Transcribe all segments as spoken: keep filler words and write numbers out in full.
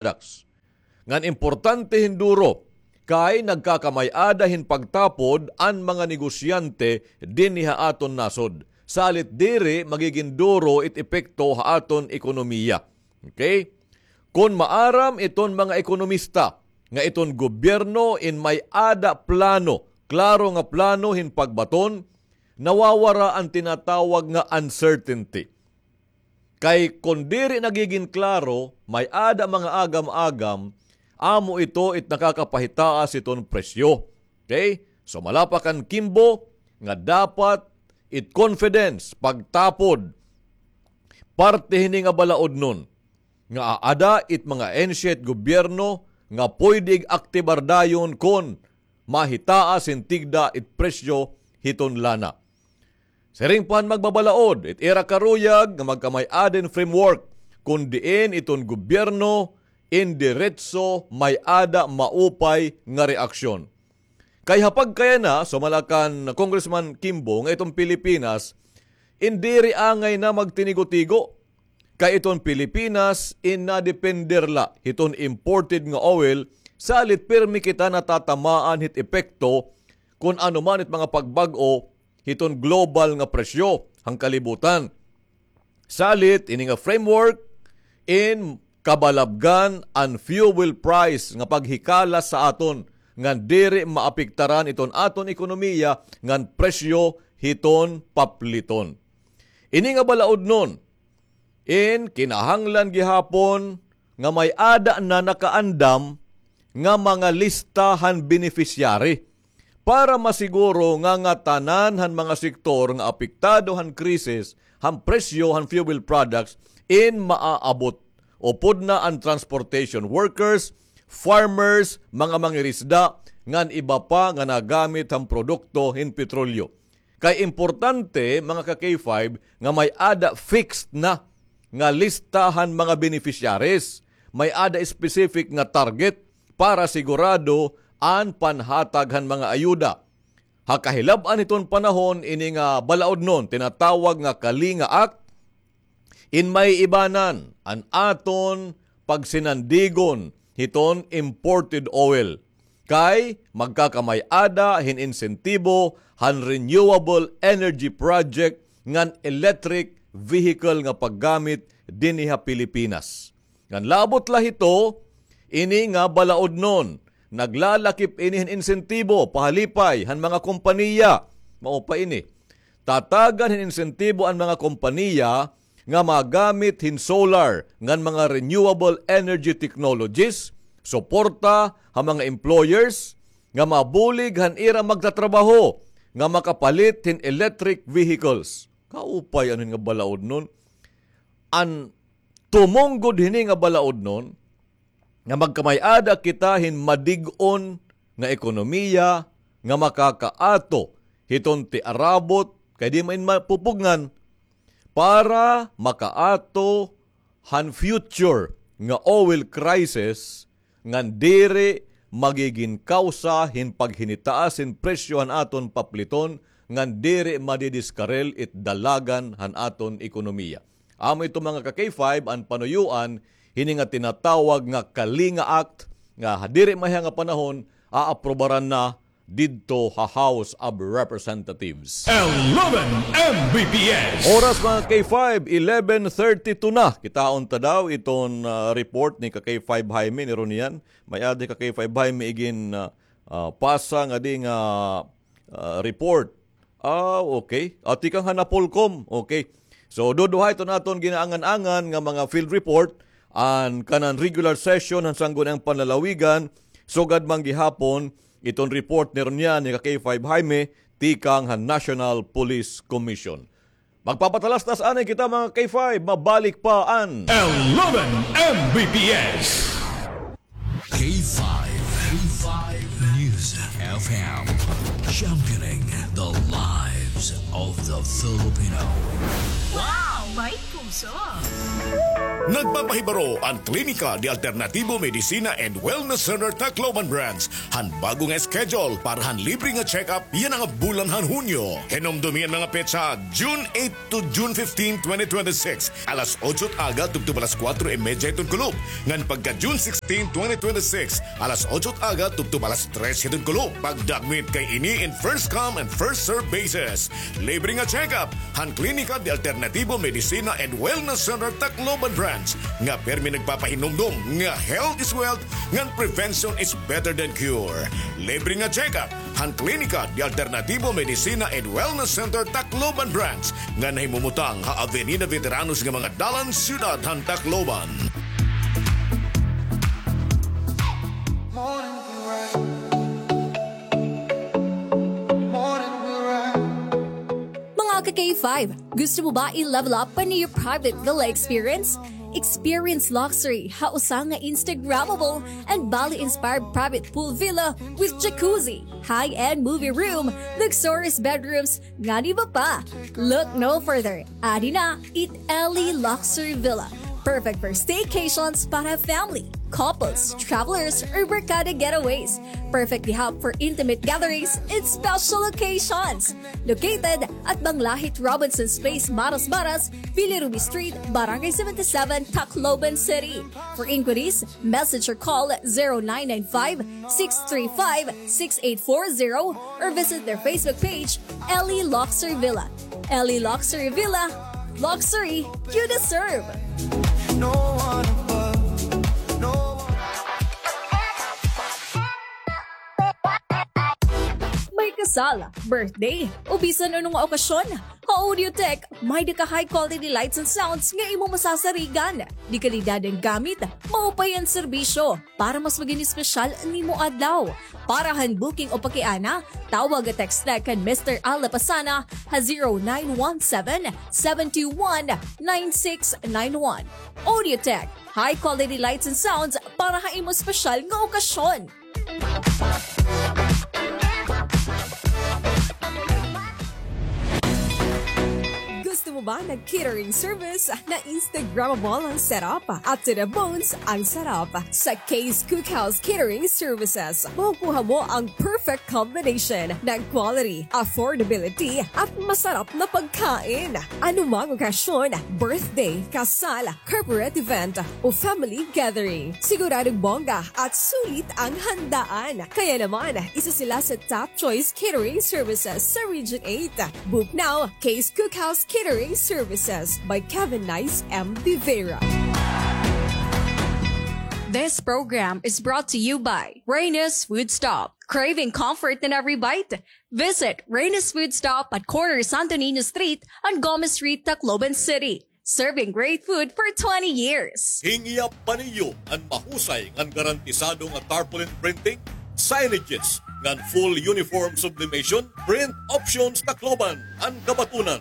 products. Ngan importante hin duro, kay nagkakamay-ada hin pagtapod an mga negosyante dinhi ha aton nasod. Salit diri magigin duro it epekto ha aton ekonomiya. Okay? Kon maaram iton mga ekonomista nga iton gobyerno in may-ada plano, klaro nga plano hin pagbaton, nawawara an tinatawag nga uncertainty. Kay kon diri nagigin klaro, may-ada mga agam-agam, amo ito it nakakapahitaas iton presyo. Okay? So, malapakan Kimbo nga dapat it confidence, pagtapod, parte hini nga balaodnon nga aada it mga ahensya it gobyerno nga pwede ig-aktibar dayon kon mahitaas hin tigda it presyo hiton lana. Siring pa han magbabalaod, it ira karuyag nga magkamay-ada hin framework, kon diin iton gobyerno in diretso may-ada maupay nga reaksyon. Kay ha pagkayana, sumala kan Congressman Kimbo, nga iton Pilipinas, in diri angay na magtinigo-tigo. Kay iton Pilipinas, in nadepender la hiton imported nga oil, salit pirmi kita natatamaan hit epekto kon ano man it mga pagbag-o hiton global nga presyo han kalibutan. Salit, ini nga framework in kabalabgan an fuel price nga paghikala sa aton ngan diri maapektaran iton aton ekonomiya ngan presyo hiton papliton. Ini nga balaodnon, in kinahanglan gihapon nga may-ada na nakaandam nga mga lista han beneficiary para masiguro nga ngatanan han mga sektor nga apektado han krisis han presyo han fuel products in maaabot. Upod na an transportation workers, farmers, mga mangirisda, ngan iba pa nga nagamit han produkto hin petrolyo. Kay importante, mga ka-K five, nga may-ada fixed na nga lista han mga beneficiaries, may-ada specific nga target para sigurado an panhatag han mga ayuda. Ha kahilab-an hiton panahon, ini nga balaodnon tinatawag nga Kalinga Act, in may ibanan an aton pagsinandigon hiton imported oil. Kay magkakamay-ada hin insentibo han renewable energy project ngan electric vehicle nga paggamit dinhi ha Pilipinas. Ngan labot la hito, ini nga balaodnon, naglalakip ini hin insentibo pahalipay han mga kompaniya. Mao pa ini. Tatagan hin insentibo an mga kompaniya nga magamit hin solar ngan mga renewable energy technologies, suporta ha mga employers nga mabulig han ira magtatrabaho nga makapalit hin electric vehicles. Kaupay ano hin nga balaodnon. An tumong gud hini nga balaodnon, nga magkamay-ada kita hin madig-on nga ekonomiya nga makakaato hiton tiarabot kay di man mapupugngan para makaato han future nga oil crisis ngan diri magigin kawsa hin paghinitaas hin presyo han aton papliton ngan diri madidiskarel it dalagan han aton ekonomiya. Amo ito, mga ka-K five, an panuyoan hini nga tinatawag nga Kalinga Act nga ha diri mahiya nga panahon aaprubaran na didto ha House of Representatives. Eleven M B P S. Oras, mga K five, eleven thirty-two na. Kitaon ta daw iton, ah, report ni ka K five Jaime ni Ronian. May-ada ka K five Jaime igin, ah, ah, pasa ngadi nga, ah, report. Ah, okay. Ah, tikang ha Napolcom. Okay. So, duduha iton aton ginaangan-angan nga mga field report, an kanan regular session han Sangguniang Panlalawigan, sugad man gihapon iton report ni Ronian ni ka K five Jaime, tikang han National Police Commission. Magpapatalastas anay kita, mga K five, mabalik pa an Eleven M B P S. K five, K five News F M, championing the lives of the Filipino. Wow! May puso. Nagpapahibaro an Klinika de Alternativo Medicina and Wellness Center Tacloban Branch han bago nga schedule para han libre nga check-up yana nga bulan han Hunyo. Hinumdomi an mga petsa, June eight to June fifteen, twenty twenty-six, alas otso it aga tubtob alas kuwatro y medya hiton kulop, ngan pagka June sixteen, twenty twenty-six, alas otso it aga tubtob alas tres hiton kulop. Pagdakmit kay ini in first come and first serve basis. Libre nga check-up han Klinika de Alternativo Medicina and Wellness Center Tacloban Branch nga pirmi nagpapahinumdom nga health is wealth ngan prevention is better than cure. Libre nga check-up han Klinika de Alternativo Medicina and Wellness Center Tacloban Branch nga nahimumutang ha Avenida Veteranos nga mga dalan, siyudad han Tacloban. Mga ka-K five, gusto mo ba i-level up pa an iyo private villa experience? Experience luxury ha usa nga Instagrammable and Bali-inspired private pool villa with jacuzzi, high-end movie room, luxurious bedrooms, ngan iba pa. Look no further. Adi na it Ellie Luxury Villa. Perfect for staycations para family, couples, travelers, or barkada getaways. Perfect di hap for intimate gatherings and special occasions. Located at Banglahit Robinson's Place, Maras Maras, Villa Ruby Street, Barangay seventy-seven, Tacloban City. For inquiries, message or call zero nine nine five, six three five, six eight four zero or visit their Facebook page, Ellie Luxury Villa. Ellie Luxury Villa, luxury you deserve. May kasal, birthday, o bisan ano nga okasyon, ha Audiotech, may-ada ka high-quality lights and sounds nga imo masasarigan. Dekalidad an gamit, maupay an serbisyo, para mas magin espesyal an imo adlaw. Para han booking o pakiana, tawag o text la kan Mister Al Lapasana ha zero nine one seven, seven two one, nine six nine one. Audiotech, high-quality lights and sounds para ha imo espesyal nga okasyon. Gusto mo ba ng catering service na Instagrammable ang setup at to the bones ang sarap? Sa Kay's Cookhouse Catering Services, makukuha mo ang perfect combination ng quality, affordability, at masarap na pagkain. Anumang okasyon, birthday, kasal, corporate event, o family gathering, siguradong bongga at sulit ang handaan. Kaya naman, isa sila sa top choice catering services sa Region eight. Book now, Kay's Cookhouse Catering Services by Kevin Nice M. De Vera. This program is brought to you by Reyna's Food Stop. Craving comfort in every bite? Visit Reyna's Food Stop at corner Santo Niño Street and Gomez Street, Tacloban City. Serving great food for twenty years. Hingyap pa niyo an mahusay ngan garantisado nga tarpaulin printing, signages, ngan full uniform sublimation? Print Options Tacloban an kabatunan.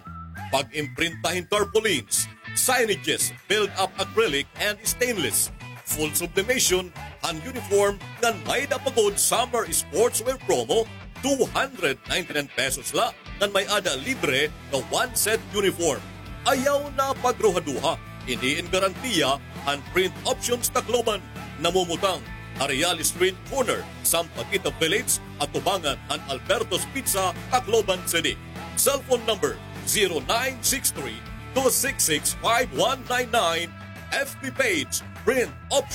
Pag-imprinta hin tarpaulins, signages, build-up acrylic and stainless, full sublimation han uniform ngan may-ada pa gud summer sportswear promo, two hundred ninety-nine pesos la ngan may-ada libre nga one set uniform. Ayaw na pagruhaduha, ini in garantiya han Print Options Tacloban. Namumutang ha Real Street corner, Sampaguita Village, atubangan han Alberto's Pizza, Tacloban City. Cellphone number zero nine six three, two six six, five one nine nine. F B page, Print Options.